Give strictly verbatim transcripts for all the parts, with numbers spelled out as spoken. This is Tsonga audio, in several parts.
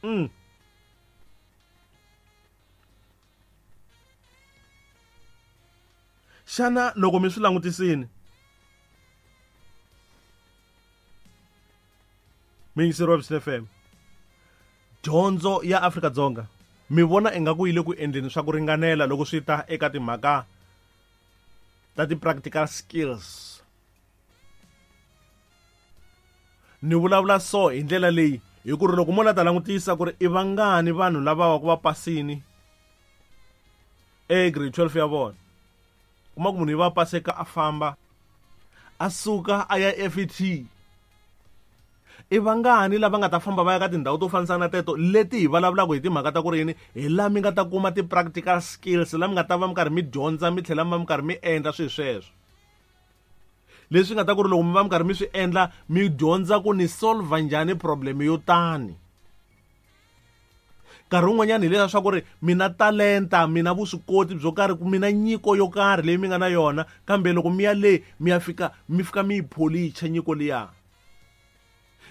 Mm. Xana loko mi swi langutisini miyingiseri wa Vision F M, dyondzo ya Afrika-Dzonga mi vona ingaku yi le ku endleni swa ku ringanela loko swi ta eka timhaka ta ti-practical skills? Ni vulavula so hi ndlela leyi hi ku ri loko mo la ta langutisa ku ri i vangani vanhu lava va ku va pasini e grade twelve ya vona, kuma ku munhu yi va paseka a famba a suka a ya F E T. I vangani lava nga ta famba va ya ka tindhawu to fanisana na teto leti hi vulavulaka hi timhaka ta ku ri yini, hi laha mi nga ta kuma ti-practical skills, laha mi nga ta va mi karhi mi dyondza mi tlhela mi va mi karhi mi endla swilo sweswo, leswi nga ta ku ri loko mi va mi karhi mi swi endla mi dyondza ku ni solve njhani problem yo tani. Nkarhi wun'wanyana hi leswiya swa ku ri mi na talenta, mi na vuswikoti byo karhi, mi na nyiko yo karhi leyi mi nga na yona, kambe loko mi ya le mi ya fika mi fika mi yi pholicha nyiko liya,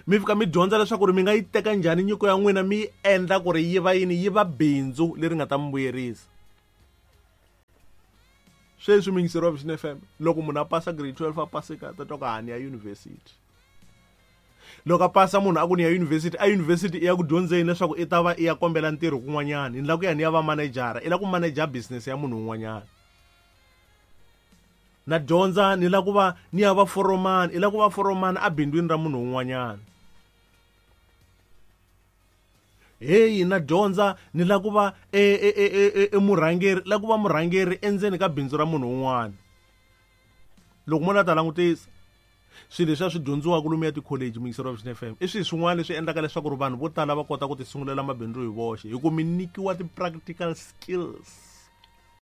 mi fika mi dyondza leswaku ri mi nga yi teka njhani nyiko ya n'wina mi yi endla ku ri yi va yini, yi va bindzu leri nga ta mi vuyerisa. Sweswi muyingiseri wa Vision F M, loko munhu a pasa grade twelve a paseka ta twa ku ha ni ya yunivhesiti. Loko a pasa munhu a ku ni ya yunivhesiti, a yunivhesiti i ya ku dyondzeni leswaku i ta va i ya kombela ntirho kun'wanyana, ni lava ku ya ni ya va manejara, i lava ku maneja business ya munhu un'wanyana. Na dyondza ni lava ku va ni ya va foromani, i lava ku va foromani a bindzwini ra munhu un'wanyana. Heyi, na dyondza ni lava ku va e, e, e, e, e, e murhangeri, lava ku va murhangeri endzeni ka bindzu ra munhu un'wana. Loko mo la ta langutisa swilo leswi a swi dyondziwaka lomu ya tikholeji, muyingiseri wa Vision F M, i swilo swin'wana leswi endlaka leswaku ri vanhu vo tala va kota ku ti sungulela mabindzu hi voxe, hi ku mi nyikiwa ti-practical skills.